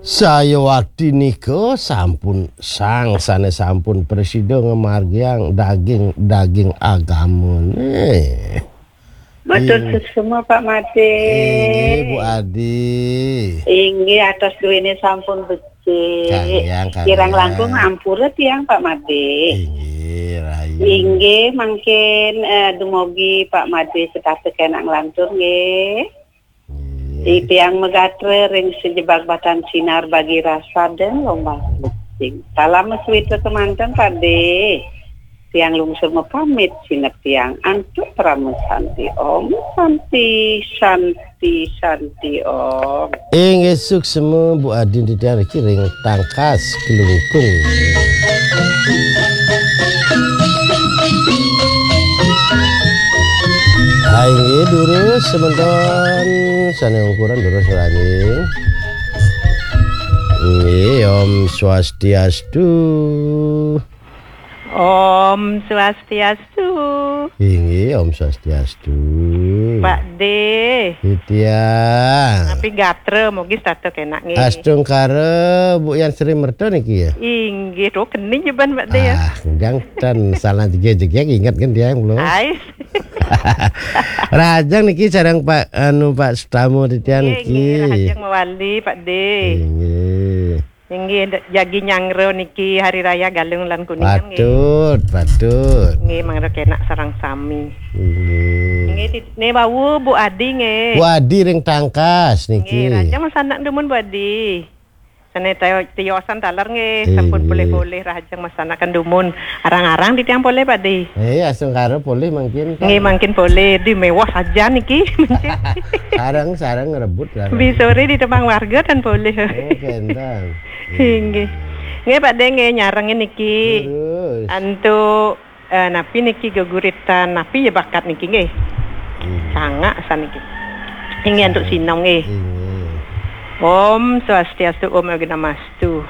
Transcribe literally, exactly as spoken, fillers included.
Sayuwakti nika sampun sang sane sampun prasida ngamargiang daging-daging agamane. Matur suksma, Pak Made. Inggih, Bu Adi. Inggih, atos duene sampun becik. Kayang, kayang. Kirang langkung ampura tiang, Pak Made. Inggih, rahayu. Inggih, mangkin, eh, dumogi Pak Made setata kenak nglantur, nggih. Nggih. Titiang magatra ring sajebag batan sinar bagi rasa dan lombang becik. Salam suwita kemanten, Pak De. Tiang lungsur mapamit, sineb tiang antuk parama santi. Om Santi, Santi, Santi, Om. Inggih suksma, Bu Adi, titiang riki ring Tangkas, Klungkung. Hai, inggih, durus semeton sane ungkuran durus rahayu. Inggih, Om Swastiastu. Om Swastiastu. Inggih, Om Swastiastu. Pak De. Titiang. Napi gatra, mugi setata kenak nggih. Astungkara, Bu Yan Sri Merta niki ya? Inggih, to keni jeban Pak De ya. Ah, jangan salah jegeg-jegeg, inget kan tiang belum? Hai. Rahajeng niki sareng Pak, anu, Pak Sutama titiang niki. Nggih, nggih, rahajeng mawali, Pak De. Inggih. Inggih, d-, jagi nyanggra niki Hari Raya Galungan lan Kuningan, nggih. Patut, patut. Nggih, mangda kenak sareng sami. Inggih. Nggih, tit-, ne wau Bu Adi, nggih. Bu Adi ring Tangkas niki. Nggih, rahajeng masanak dumun, Bu Adi. Sane tayo-, tiosan taler, nggih, sampun polih-polih, rahajeng masanakan dumun. Arang-arang titiang polih, Pak De. Eh, astungkara polih mangkin, kan? Nggih, mangkin polih. Di mewah saja niki. Sareng-sareng ngrebut, sareng. Bi sore di tembang warga tan polih. Oh, kenten. Inggih. Nggih, Pak De, nggih, nyarengin niki. Terus. Antuk, eh, napi niki geguritan, napi ya bakat niki, nggih? Inggih. Sangak saniki. Inggih, antuk sinau, nggih. Inggih. Om Swastiastu, Om Awighnamastu.